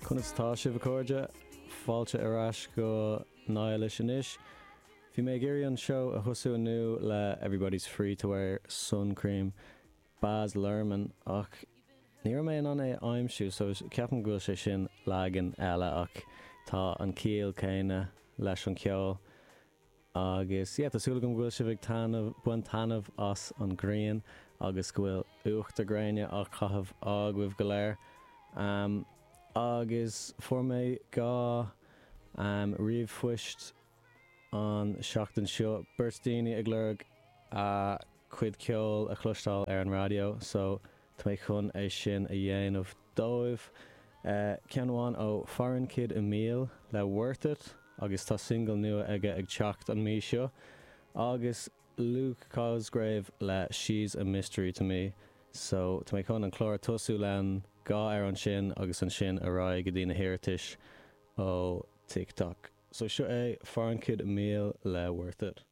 Conas atá sibh a chairde? Fáilte ar ais go Niallis anois. Bhí mé ag iarraidh an seó a thosú inniu le Everybody's Free to Wear Sun Cream, Baz Luhrmann, ach ní raibh mé in ann é a aimsiú so ceapaim go bhfuil sé sin leagan eile ach tá an ciall céanna leis an ceol. Agus yeah, tá súil agam go bhfuil sibh ag taitneamh, baint taitneamh as an ghrian agus go bhfuil uachtar gréine á chaitheamh agaibh go léir. Um, agus fuair mé 2 um, ríomhphoist an seachtain seo, beirt daoine ag lorg a cuid ceoil a chloisteáil ar an raidió, so tá mé chun é sin a dhéanamh dóibh. Ceann amháin ó Foreign Kid Emile le Worth It agus tá single nua aige ag teacht an mí seo agus Luke Cosgrave le She's a Mystery to Me. So tá mé chun an clár a tosú le an 2 amhrán sin agus ansin ar aghaidh go dtí na hiarratais ó TikTok. So seo é Foreign Kid Emile le Worth It.